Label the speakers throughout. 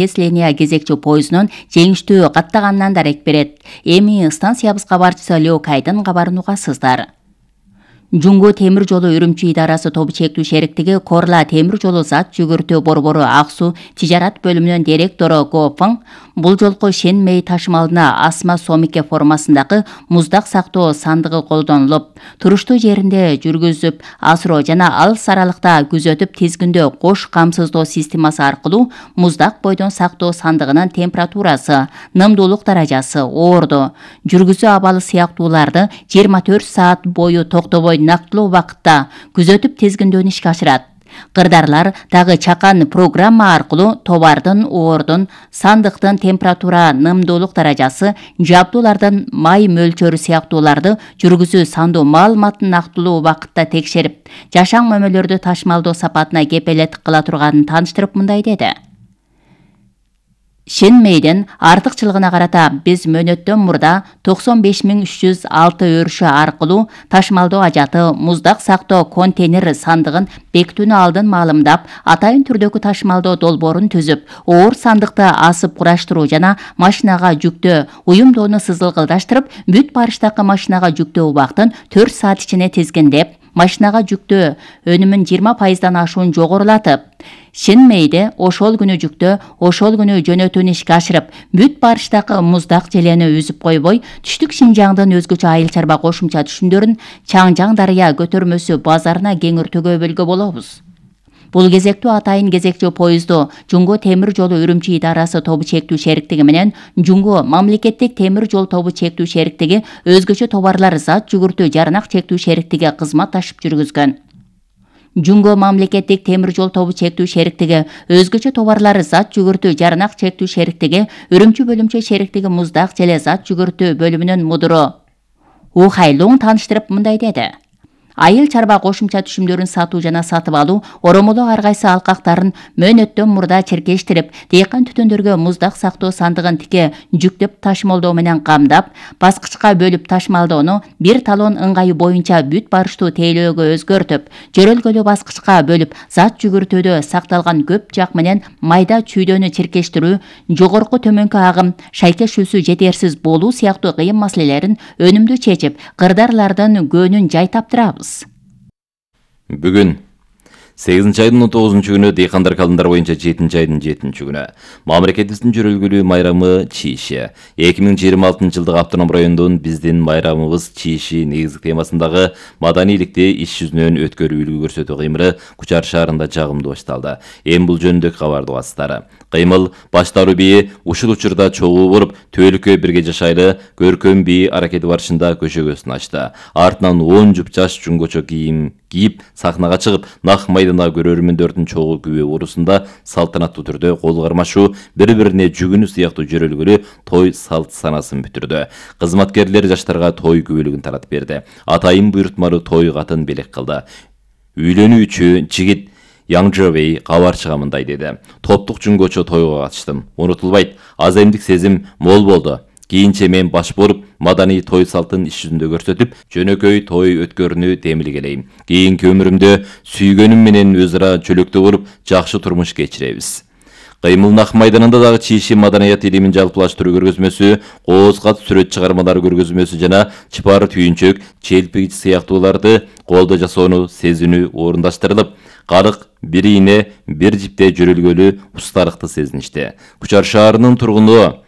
Speaker 1: Линия кезекчи поездунун жеңиштүү каттаганынан дарек берет. Эми станциябыз кабарчысы Лёкайдын кабарын угасыздар. Жуңго темир жолу Үрүмчү идарасы тобу чектүү шериктиги Корла темир жолу зат жүгүртүү борбору Аксу тижарат бөлүмүнүн директору Го Фың бул жолку Шенмей ташымалына Асма Сомике формасындагы муздак сактоо сандыгы колдонулуп, туруштуу жеринде жүргүзүп, асыроо жана алыс аралыкта күзөтүп тизгиндөө кош камсыздоо системасы аркылуу муздак бойдон сактоо сандыгынын температурасы, нымдуулук даражасы, оорду, жүргүзүү абалы сыяктууларды 24 саат бою токтобой нактылуу убакытта күзөтүп тизгиндөөдү ишке ашырат. Кырдарлар дагы чакан программа аркылуу товардын, оордун, сандыктын температура, нымдуулук даражасы, жабдуулардын май мөлчөрү сыяктууларды жүргүзүү сандуу маалыматын нактылуу убакытта текшерип, жашаң мөмөлөрдү ташмалдоо сапатына кепелеттик кыла турганын тааныштырып мындай деди. Шенмейдин артыкчылыгына карата биз мөөнөттөн мурда 95306 өрүшү аркылуу ташмалдоо ажаты муздак сактоо контейнер сандыгын бекитүүнү алдын маалымдап, атайын түрдөгү ташмалдоо долбоорун түзүп, оор сандыкты асып кураштыруу жана машинага жүктөө уюмдоону сызылгылдаштырып, бүт барыштагы машинага жүктөө убактын 4 саат ичине тизгиндеп, машинага жүктөө өнүмүн 20%дан ашуун жогорулатып, Шенмейде ошол күнү жүктөө, ошол күнү жөнөтүүнү ишке ашырып, бүт барыштагы муздак желени үзүп койбой, түштүк Шинжаңдын өзгөчө айыл чарба кошумча түшүмдөрүн Чаңжаң дарыя көтөрмөсү базарына кеңиртүүгө бөлгө болобуз. Бул кезектүү атайын кезекчи поезду Жуңго темир жолу Үрүмчү идарасы тобу чектүү шериктиги менен Жуңго мамлекеттик темир жол тобу чектүү шериктиги өзгөчө товарлар зат жүгүртүү жарнак чектүү шериктиги кызматташып жүргүзгөн. Жуңго мамлекеттик темир жол тобу чектүү шериктиги өзгөчө товарлар зат жүгүртүү жарнак чектүү шериктиги Үрүмчү бөлүмчө шериктиги муздак желе зат жүгүртүү бөлүмүнүн мудуру Ухайлуң тааныштырып мындай деди. Айыл чарба кошумча түшүмдөрүн сатуу жана сатып алуу оромолоо ар кайсы алкактарын мөөнөттөн мурда черкештирип, дыйкан түтүндөргө муздак сактоо сандыгын тике жүктөп ташымалдоо менен камдап, баскычка бөлүп ташымалдоону бир талон ыңгайы боюнча бүт барыштуу тейлөөгө өзгөртүп, жөрөлгөлүү баскычка бөлүп, зат жүгүртүүдө сакталган көп жак менен майда чүйдөнү черкештирүү, жогорку төмөнкү агым, шайкешүүсү жетерсиз болуу сыяктуу кыйын маселелерин өнүмдүү чечип, кырдарлардын көөнүн жай таптырабыз.
Speaker 2: Бүгүн 8 айдын 19 күнү дыйкандар календар боюнча 7 айдын 7 күнү мамлекетибиздин жөрөлгөлүү майрамы Чийиши. 2026 жылдык автоном райондун биздин майрамыбыз Чийиши негизги темасындагы маданийликти иш жүзүнөн өткөрүү үлгү көрсөтүү кыймылы Кучар шаарында жагымдуу башталды. Эми бул жөнүндө кабарды угасыздар. Кыймыл баштаруу бии ушул учурда чогуу болуп, Төөлүккө бирге жашайлы көркөм бии аракети барышында көшөгөсүн ачты. Артынан 10 жуп жаш жуңгочо кийим кийип сахнага чыгып, нак майдана көрөрмөндөрдүн чогуу күбө урусунда салтанаттуу түрдө кол кармашуу, бири-бирине жүгүнүү сыяктуу жөрөлгөлүү той салт санасын бүтүрдү. Кызматкерлер жаштарга той күбөлүгүн таратып берди. Атайын буйрутмалуу той катын белек кылды. Үйлөнүүчү жигит Яңжыбей кабарчыга мындай деди. Топтук жуңгочо тойго катыштым. Унутулбайт, аземдик сезим мол болду. Кийинче мен баш болуп, маданий той салтын иш жүзүндө көрсөтүп, жөнөкөй той өткөрүүнү темилгелейм. Кийинки өмүрүмдө сүйгөнүм менен өз ара чөлөктө болуп, жакшы турмуш кечиребиз. Кыймыл Нак майданында дагы Чийиши маданият илимин жалпылаштыруу көргөзмөсү, кооз кат сүрөт чыгармалар көргөзмөсү жана чыпар түйүнчөк, челпигич сыяктууларды колдо жасоону сезинүү орундаштырылып, карык бир ийне, бир жипте жөрөлгөлүү устарыкты сезиништи. Кучар шаарынын тургуну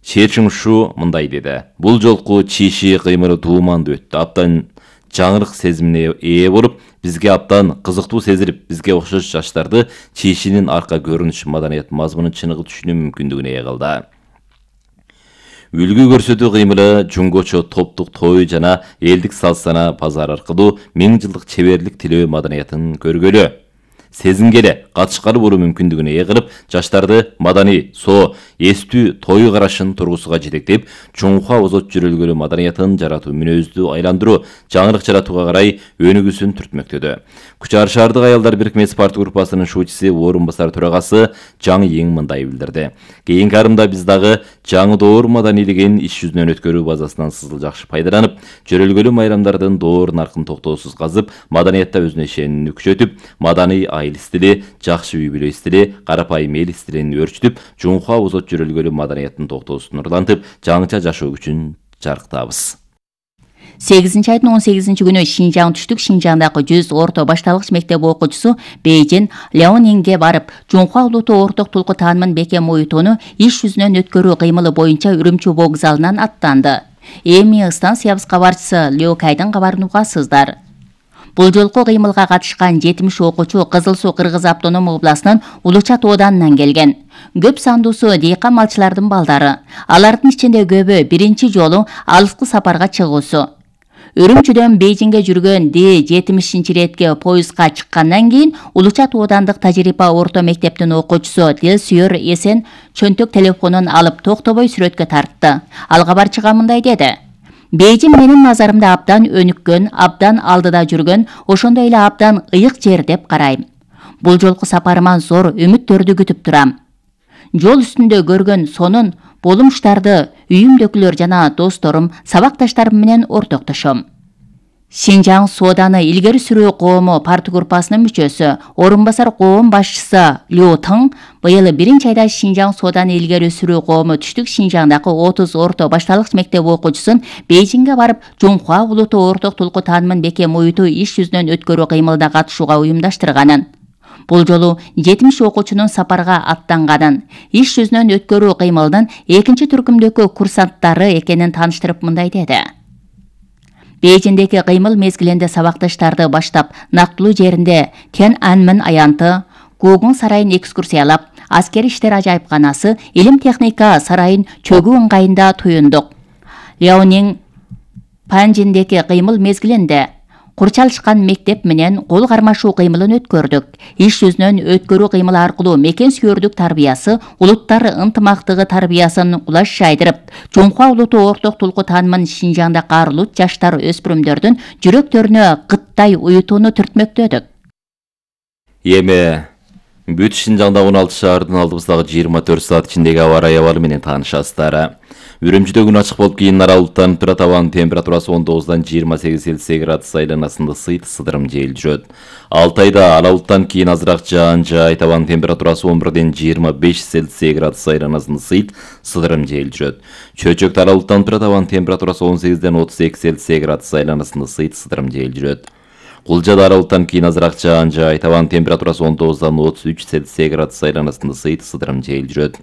Speaker 2: Шечиңшу мындай деди. Бул жолку Чийиши кыймылы туумандуу өттү. Абдан жаңырык сезимине ээ болуп, бизге абдан кызыктуу сезилип, бизге окшош жаштарды Чийишинин арка көрүнүш маданият мазмунун чыныгы түшүнүү мүмкүндүгүнө ээ кылды. Үлгү көрсөтүү кыймылы жуңгочо топтук той жана элдик салт сана базар аркылуу 1000 жылдык чеберлик тилөө маданиятын көргөлө, сезингеле, катышкалы болуу мүмкүндүгүнө ээ кылып, жаштарды маданий, эстүү той карашын тургусуга жетектеп, чоңуха озот жөрөлгөлүү маданиятын жаратуу мүнөздү айландыруу, жаңырык жаратууга карай өнүгүүсүн түртмөктөдү. Кучар шаардык аялдар бирикмеси парт группасынын шуучусу, орун басар төрагасы Жаңы Ең мындай билдирди. Кийинки арымда биз дагы жаңы доор маданийлигин иш жүзүнөн өткөрүү базасынан сызыл жакшы пайдаланып, жөрөлгөлүү майрамдардын доор наркын токтоосуз казып, маданиятта өзүнө ишенимди күчөтүп, маданий айыл стили, жакшы үй бүлө стили, карапайым эл стилин өөрчүтүп, Жунхва бозот жөрөлгөлү маданиятын токтоосун нурлантып, жаңыча жашоо күчүн жарыктабыз.
Speaker 1: 8-айдын 18 күнү Шинжаң түштүк Шинжаңдагы 100 орто башталгыч мектеп окуучусу Бейжин Ляонинге барып, Жунхва улуттук орток тулку таанымын бекем оюутууну иш жүзүнөн өткөрүү кыймылы боюнча Үрүмчү вокзалынан аттанды. Эми станциябыз кабарчысы Лео Кайдын кабарын угасыздар. Бул жолку кыймылга катышкан 70 окуучу Кызыл Суу Кыргыз автоном областынын Улучат ооданынан келген. Көп сандуусу дейкан малчылардын балдары. Алардын ичинде көбү биринчи жолу алыскы сапарга чыгуусу. Үрүмчүдөн Бейжиңге жүргөн D70-иретке поездга чыккандан кийин Улучат оодандык тажрыйба орто мектептин окуучусу Дилсүйөр Эсен чөнтөк телефонун алып токтобой сүрөткө тартты. Ал кабарчыга мындай деди: Бейжиң менин назарымда абдан өнүккөн, абдан алдыда жүргөн, ошондой эле абдан ыйык жер деп карайм. Бул жолку сапарыман зор үмүттөрдү күтүп турам. Жол үстүндө көргөн сонун болумуштарды үйүмдөгүлөр жана досторум, сабакташтарым менен ортоктошом. Шинжаң сооданы илгери сүрүү коому парты группасынын мүчөсү, орун басар коом башчысы Лю Тың быйыл 1-айда Шинжаң сооданы илгери сүрүү коому түштүк Шинжаңдагы 30 орто башталгыч мектеп окуучусун Бейжиңге барып, Жунхва улуттук орток тулку таанымын бекем оюутуу иш жүзүнөн өткөрүү кыймылына катышууга уюмдаштырганын. Бул жолу 70 окуучунун сапарга аттанганын, иш жүзүнөн өткөрүү кыймылынын 2-түркүмдөгү курсанттары экенин тааныштырып мындай деди: Бейжиңдеги кыймыл мезгилинде сабакташтарды баштап, нактылуу жеринде Тяньаньмэнь аянты, Гугун сарайын экскурсиялап, аскери иштер ажайыпканасы, илим техника сарайын чөгүү ыңгайында туюндук. Ляонин Панжиндеги кыймыл мезгилинде курчалышкан мектеп менен кол кармашуу кыймылын өткөрдүк. Иш жүзүнөн өткөрүү кыймылы аркылуу мекен сүйөрдүк тарбиясы, улуттар ынтымактыгы тарбиясын кулаш жайдырып, Жунхва улуттук орток тулку таанымын Шинжаңда карылут жаштар өспүрүмдөрдүн жүрөктөрүнө кыттай уютууну түртмөктөдүк.
Speaker 2: Эми бүт Шинжаңда 16 шаардын алдыбыздагы 24 саат ичиндеги аба ырайы абалы менен таанышасыздар. Үрүмчүдө күн ачык болуп кийин аралыктан турат, абанын температурасы 19-дан 28 Цельсий градус айланасында сыйт-сыдырым жел жүрөт. Алтайда аралыктан кийин азыраак жаан жаайт, абанын температурасы 11-ден 25 Цельсий градус айланасында сыйт-сыдырым жел жүрөт. Чөчөктө аралыктан турат, абанын температурасы 18-ден 32 Цельсий градус айланасында сыйт-сыдырым жел жүрөт. Кулжада аралыктан кийин азыраак жаан жаайт, абанын температурасы 19-дан 33 Цельсий градус айланасында сыйт-сыдырым жел жүрөт.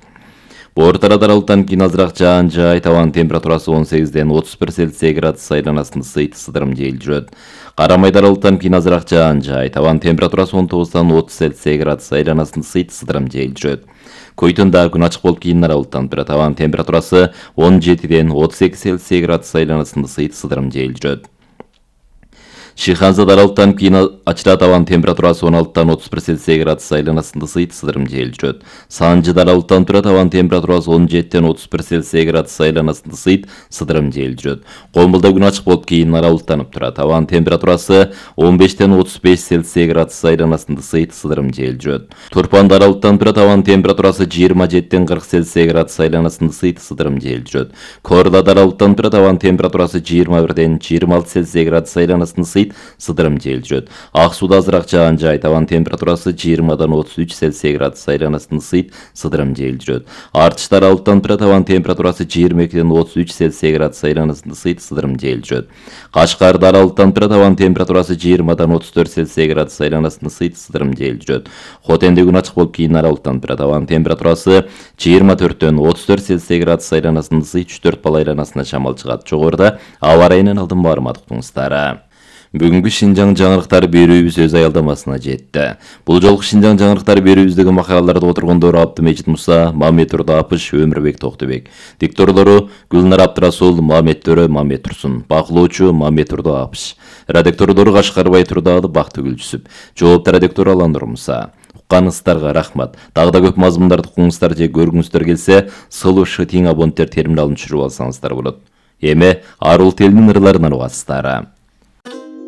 Speaker 2: Боортарада аралыктан кийин азыраак жаан жаайт, абанын температурасы 18-ден 31 Цельсий градус айланасында сыйт-сыдырым жел жүрөт. Карамайда аралыктан кийин азыраак жаан жаайт, абанын температурасы 19-дан 30 Цельсий градус айланасында сыйт-сыдырым жел жүрөт. Көйтөндө күн ачык болуп кийин аралыктан турат, абанын температурасы 17-ден 32 Цельсий градус айланасында сыйт-сыдырым жел жүрөт. Шиханзада аралыктан кийин ачырат, абанын температурасы 16-дан 31 Цельсий градус айланасында сыйт-сыдырым жел жүрөт. Санжыда аралыктан турат, абанын температурасы 17-ден 31 Цельсий градус айланасында сыйт-сыдырым жел жүрөт. Комбулда күн ачык болуп кийин аралыктанып турат, абанын температурасы 15-ден 35 Цельсий градус айланасында сыйт-сыдырым жел жүрөт. Турпанда аралыктан турат, абанын температурасы 27-ден 40 Цельсий градус айланасында сыйт-сыдырым жел жүрөт. Корлада аралыктан турат, абанын температурасы 21-ден 26 Цельсий градус айланасында сыдырым жел жүрөт. Ак сууда азыраак жаан жаайт, абанын температурасы 20-дан 33 Цельсий градус айланасында сыдырым жел жүрөт. Артышта аралыктан турат, абанын температурасы 22-ден 33 Цельсий градус айланасында сыдырым жел жүрөт. Кашкарда аралыктан турат, абанын температурасы 20-дан 34 Цельсий градус айланасында сыдырым жел жүрөт. Хотенде күн ачык болуп кийин аралыктан турат, абанын температурасы 24-дөн 34 Цельсий градус айланасында 4 балл айланасына чамал чыгат. Жогоруда аба ырайынын алдын маалымат уктуңуздар. Бүгүнкү Шинжаң жаңырыктары берүүбүз өз аялдамасына жетти. Бул жолку Шинжаң жаңырыктары берүүбүздөгү макалаларды отургондору Абдымежит Муса, Мамет Турдапыш, Өмүрбек Токтобек. Дикторлору Гүлнар Абдрасул, Мамет Төрө, Мамет Турсун. Бакылоочу Мамет Турдапыш. Редакторлору Кашкарбай Турдаалы, Бактыгүл Жүсүп. Жооптор редактор Алан Нурмуса. Укканыңыздарга рахмат. Дагы да көп мазмундарды укуңуздар же көргүңүздөр келсе, сылуу шытиң абоненттер терминалын түшүрүп алсаңыздар болот. Эми арул телинин ырларынан угасыздар.